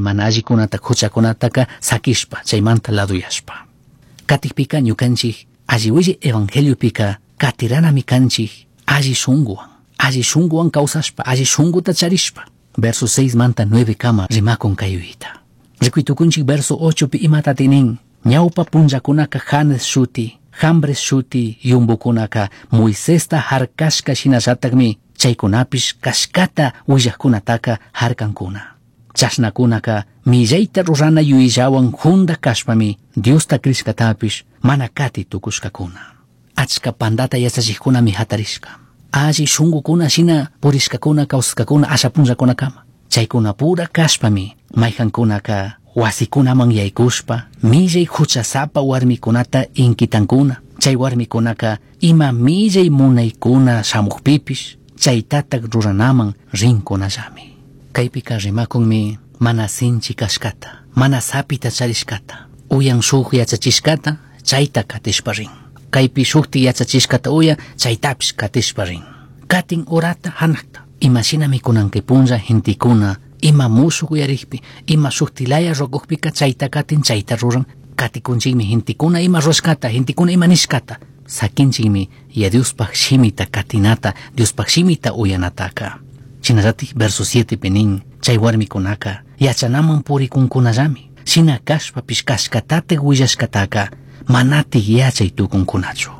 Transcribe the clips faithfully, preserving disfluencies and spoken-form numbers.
Chay mana allikunata huchakunataka sakishpa chaymanta laduyashpa. Katikpika ñukanchik alli willi evangeliopika katiranami kanchik alli shunguwan, alli shunguwan kawsashpa, alli shunguta charishpa. Verso seis manta nueve kama rimakun kayuyta. Rikuytukunchik verso ocho pi imatati nin: ñawpa punllakunaka Janes shuti, Jambres shuti yumbukunaka Moisesta harkashka shinallatakmi chaykunapish kashkata willajkunataka harkankuna. Chashnakunaka millayta rurana yuyillawan junda kashpami Diosta crishkatapish mana kati tukushkakuna. Achka pandata yachachikkunami hatarishka. Alli shungukuna shina purishkakuna kawsashkakuna asha punllakunakama. Chaykunapura kashpami mayjankunaka wasikunaman yaykushpa millay huchasapa warmikunata inkitankuna. Chay warmikunaka ima millay munaykuna shamukpipish chaytatak ruranaman rinkunallami. Kaypika rimakunmi mana sinchi kashkata, mana sapita charishkata, uyan shuk yachachishkata chayta katishpa rin. Kaypi shukti yachachishkata uya chaytapish katishpa rin. Katin urata hanakta. Imashinami kunan kay punlla gentikuna ima mushuk uyarikpi, ima shuktilaya rukukpika chayta katin chayta ruran. Katikunchikmi gentikuna ima rurashkata, gentikuna ima nishkata. Sakinchikmi ya Diospaj shimita katinata, Diospaj shimita uyanataka. Shinallatik verso siete pi nin, chay warmikunaka yachanaman purikunkunallami. Shina kashpapish kashkatatik willashkataka manatik yachay tukunkunachu.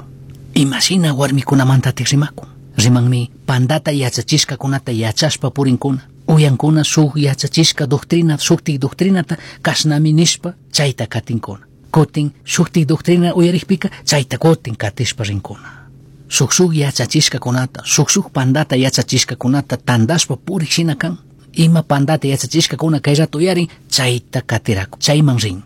Imashina warmikunamantatik rimakun? Rimanmi pandata yachachishkakunata yachashpa purinkuna. Uyankuna shuk yachachishka doctrina, shuktik doctrinata kashnami nishpa chayta katinkuna. Kutin shuktik doctrina uyarikpika chayta kutin katishpa rinkuna. Shuk shuk yachachishkakunata, shuk shuk pandata yachachishkakunata tandashpa purik shina kan. Ima pandata yachachishkakuna kay rato uyarin chayta katiraku, chayman rin.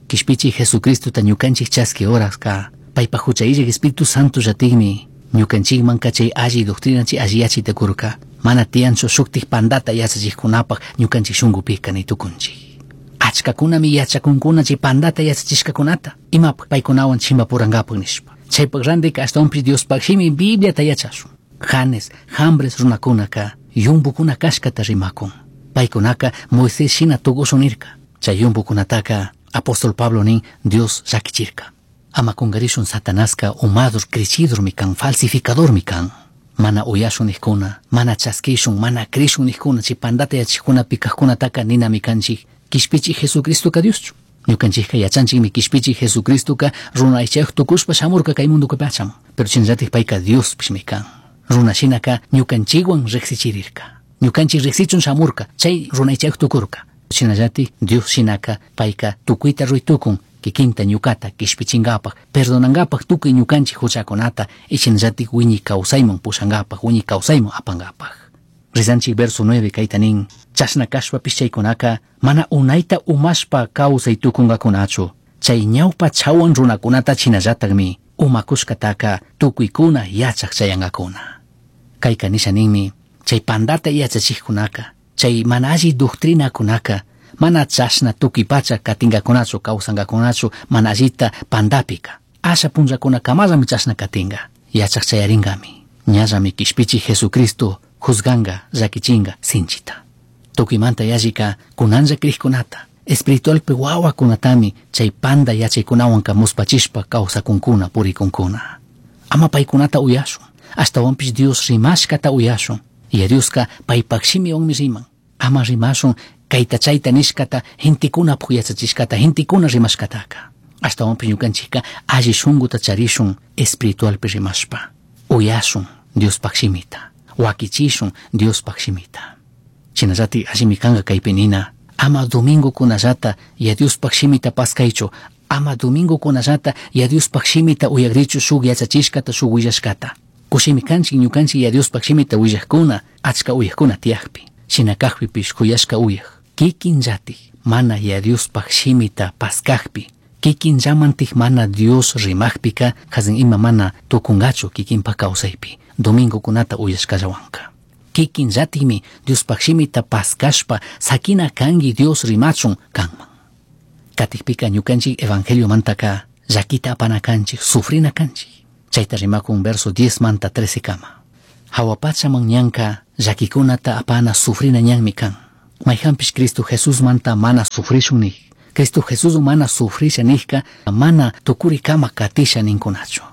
Kishpichi Jesucristota ñukanchik chaski horaska paypa hucha illak Espíritu Santo llatikmi ñukanchikmanka chay alli doctrina chay alli yachayta kurka. Mana tiyanchu shuktik pandata yachachikkunapaj ñukanchik shunkupika ni tukunchik. Achkakunami yachakunkuna chay pandata yachachishkakunata imapaj paykunawan chimpapurankapak nishpa. Chaypak randika ashtawanpish Diospaj shimi Bibliata yachashun. Janes, Jambres runakunaka yumbukuna kashkata rimakun. Paykunaka Moisés shina tukushun nirka. Chay yumbukunataka apóstol Pablo nin Dios llakichirka. Ama kungarishun Satanaska umadur crechidurmi kan, falsificadormi kan. Mana uyashun nijkuna, mana chaskishun, mana crishun nijkuna, chay pandata yachikuna pikajkunataka ninami kanchik kishpichi Jesucristoka Dioschu. Ñukanchikka yachanchikmi kishpichi Jesucristoka runa aychayuq tukushpa shamurka kay munduka pachaman. Pero shinallatik payka Diospishmi kan. Runa shinaka ñukanchikwan riqsichirirka. Ñukanchik riqsichun shamurka, chay runa aychayuq tukurka. Shinallatik Dios shinaka payka tukuyta ruytukun kikinta ñukata kishpichinkapak, perdonankapak tukuy ñukanchik huchakunata y shinallatik wiñay kawsayman pushankapak, wiñay kawsayman apankapak. Rizanchik verso nueve kayta nin, chashna kashpapish chaykunaka mana unayta umashpa kawsay tukunkakunachu. Chay ñawpa chawan runakunata shinallatakmi umakushkataka tukuykuna yachak chayankakuna. Kayka nisha ninmi, chay pandata yachachikkunaka, chay mana alli doctrinakunaka mana chashna tukuy pacha katinkakunachu, kawsankakunachu mana allita pandapika. Asha punllakunakamallami chashna katinka. Yachak chayarinkami. Ñallami kishpichi Jesucristo juzganga, llakichinga sinchita. Tukuymanta yallika kunanlla krikkunata, espiritualpi wawakunatami chay panda yachaykunawanka muspachishpa kawsakunkuna purikunkuna. Ama paykunata uyashun, ashtawanpish Dios rimashkata uyashun. Y Dioska paypak shimiwanmi riman. Ama rimashun kayta chayta nishkata, gentekunapuk yachachishkata, gentekuna rimashkataka. Ashtawanpish ñukanchikka alli shunkuta charishun espiritualpi rimashpa. Uyashun Diospaj shimita, wakichishun Diospaj shimita. Shinallatik allimi kanka kaypi nina, ama domingokunallata ya Diospaj shimita paskaychu, ama domingokunallata ya Diospaj shimita uyakrichu shuk yachachishkata, shuk willashkata. Kushimi kanchik ñukanchik ya Diospaj shimita willajkuna, achka uyajkuna tiyakpi. Shina kajpipish kuyashka uyaj. Kikinllatik mana ya Diospaj shimita paskajpi, kikinllamantik mana Dios rimajpika, hazin ima mana tukungachu kikinpak kawsaypi, domingokunata uyashkallawanka. Kikinllatikmi Diospaj shimita paskashpa sakina kanki Dios rimachun kanman. Katikpika ñukanchik evangeliomantaka llakita apana kanchik, sufrina kanchik. Chayta rimakun verso diez manta trece kama. Hawa pachaman ñanka llakikunata apana sufrina ñanmi kan. Mayhanpish Cristo Jesusmanta mana sufrishun nik. Cristo Jesús mana sufrisha nijka mana tukurikama katisha ninkunachu.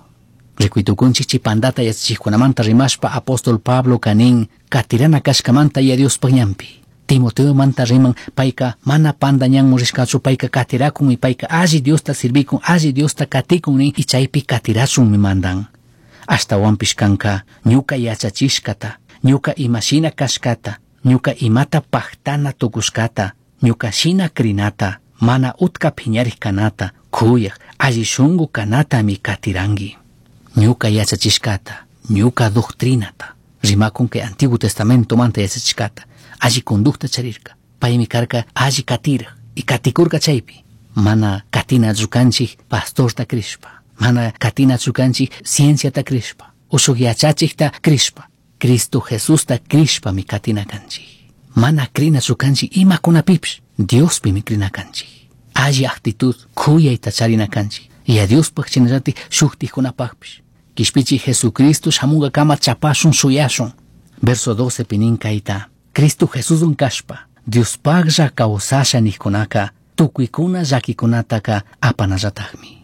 Rikuy chay pandata yachachikkunamanta rimashpa apóstol Pablo kanin katirana kashkamanta ya Diospaj ñanpi. Timoteo manta riman payka mana panda ñanmu rishkachu payka katirakun y payka alli Diosta sirvikun alli Diosta katikun nin y chaypi katirachunmi mandan. Ashtawanpish kanka ñuka yachachishkata, ñuka imashina kashkata, ñuka imata pajtana tukushkata, ñuka shina krinata, mana utka phiñarik kanata, kuyaj, alli shunku kanatami katiranki. Ñuka yachachishkata, ñuka doctrinata, rimakun kay Antiguo Testamento manta yachachishkata, alli conducta charirka, paymi karka alli katiraj y katikurka chaypi, mana katinachu kanchik pastorta krishpa, mana katinachu kanchik cienciata krishpa, ushuk yachachikta krishpa, Cristo Jesusta krishpami katina kanchik. Mana krinachu kanchik imakunapipish, Diospimi krina kanchik. Alli actitud kuyayta charina kanchik. Y a Diospaj shinallatik shuktikkunapajpish. Kishpichi Jesucristo shamunkakama chapashun shuyashun. Verso doce pinin kayta. Cristo Jesusun kashpa, Diospajlla kawsasha nijkunaka, tukuykuna llakikunataka apanallatakmi.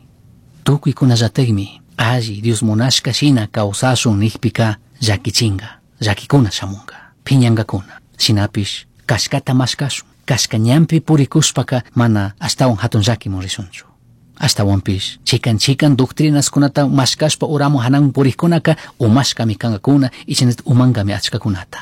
Tukuykunallatakmi alli Dios munashka shina kawsashun nijpika llakichinga, llakikuna shamunga, phiñankakuna. Shinapish kashkata mashkashun, kashka ñanpi purikushpaka mana ashtawan hatun llakimun rishunchu. Ashtawanpish chikan chikan doctrinaskunata mashkashpa uramu hanan purikkunaka umashkami kankakuna y shinallatak umankami achkakunata.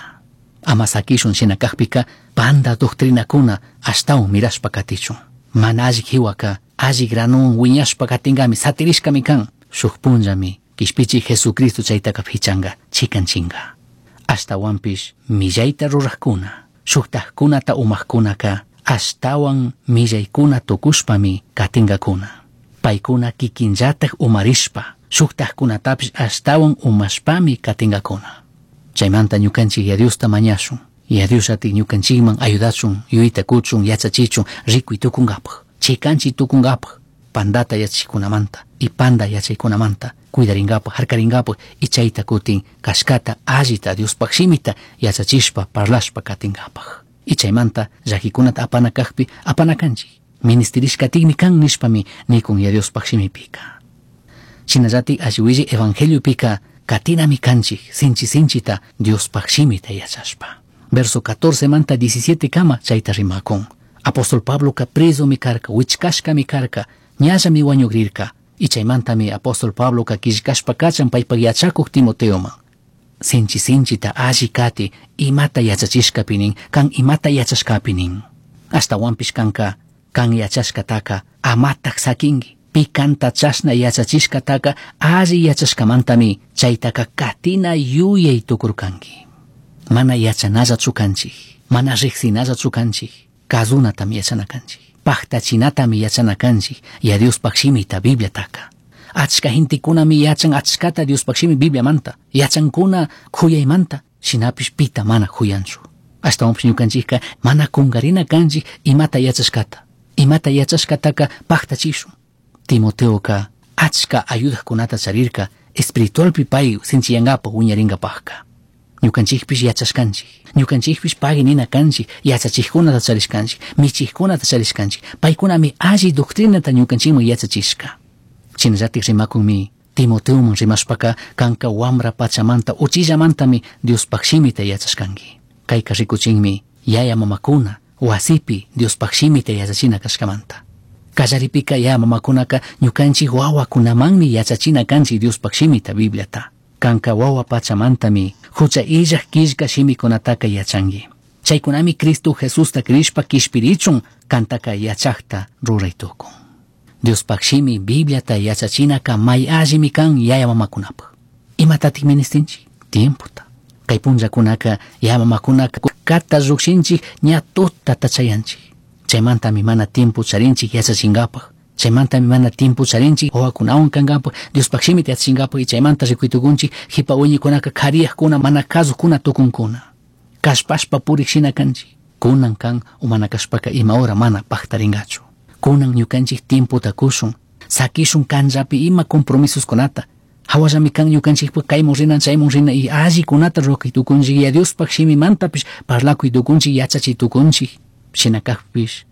Ama sakishun shina kakpika panda doctrinakuna ashtawan mirashpa katichun. Mana alli hiwaka alli granuwan wiñashpa katinkami satirishkami kan. Shuk punllami kishpichi Jesucristo chaytaka pichanka chikan chinga. Ashtawanpish millayta rurakkuna, shuktajkunata umakkunaka ashtawan millaykuna tukushpami katinkakuna. Paykuna kikinllatak umarishpa, shuktajkunatapish ashtawan umashpami katinkakuna. Chaymanta ñukanchik ya Diosta mañashun, ya Dios ati ñukanchikman ayudachun, yuyayta kuchun, yachachichun, rikuy tukunkapaj, chikanchi tukunkapaj, pandata yachachikkunamanta y panda yachaykunamanta cuidarinkapaj, harkarinkapaj y chayta kutin kashkata allita Diospaj shimita yachachishpa parlashpa katinkapaj. Y chaymanta llakikunata apana kakpi apana kanchik. Ministerishkatikmi kan nishpami nikun ya Diospaj shimipika. Shinallatik alli willay evangeliopika katinami kanchik sinchi sinchita Diospaj shimita yachashpa. Verso catorce manta diecisiete kama chayta rimakun. Apóstol Pabloka presomi karka, wichkashkami karka, ñallami wañugrirka. Y chaymantami apóstol Pabloka killkashpa kachan paypak yachakuq Timoteoman. Sinchi sinchita alli kati imata yachachishkapi nin, kan imata yachashkapi nin. Ashtawanpish kanka, kan yachashkataka amatak sakinki. Pi kanta chashna yachachishkataka alli yachashkamantami chaytaka katina yuyay tukurkanki. Mana yachanallachu kanchik, mana riqsinallachu kanchik, kazunatami yachana kanchik, pajtachinatami yachana kanchik, ya Diospaj shimita Bibliataka. Achka gentekunami yachan achkata Diospaj shimi Bibliamanta, yachankuna kuyaymanta, shinapish pita mana kuyanchu. Ashtawanpish ñukanchikka mana kunkarina kanchik imata yachashkata, imata yachashkataka pajtachishun. Timoteoka achka ayudajkunata charirka espiritualpi pay sinchiyankapaj wiñarinkapajka. Ñukanchikpish yachashkanchik, ñukanchikpish pagui nina kanchik, yachachikkunata charishkanchik, michikkunata charishkanchik, paykunami alli doctrinata ñukanchikman yachachishka. Shinallatik rimakunmi Timoteoman rimashpaka kanka wamra pachamanta uchillamantami Diospaj shimita yachashkanki. Kayka rikuchinmi yaya mamakuna wasipi Diospaj shimita yachachina kashkamanta. Kallaripika yaya mamakunaka ñukanchik wawakunamanmi yachachina kanchik Diospaj shimita Bibliata. Kanka wawa pachamantami hucha illaj killka shimikunataka yachanki. Chaykunami Cristo Jesusta krishpa kishpirichun kantaka yachakta ruray tukun. Diospaj shimi Bibliata yachachinaka may allimi kan yaya mamakunapaj. Imatatik ministinchik? Tiempota. Kay punllakunaka yaya mamakunaka kata llukshinchik ña tutata chayanchik. Chaymantami mana tiempo charinchik yachachinkapaj. Chaymantami mana tiempo charinchik wawakunawan kankapaj, Diospaj shimita yachachinkapaj y chaymanta rikuytukunchik hipa wiñaykunaka kariyajkuna mana kasukuna tukunkuna. Kashpashpa purik shina kanchik. Kunan kan umana kashpaka ima hora mana pajtarinkachu. Kunan ñukanchik tiempota kushun, sakishun kanllapi ima compromisoskunata, Hawallami kan ñukanchikpak kaymun rina chaymun rina y allikunata rurakuy tukunchik Yaya Diospaj shimimantapish parlakuy tukunchik yachachiy tukunchik. Shina kakpish.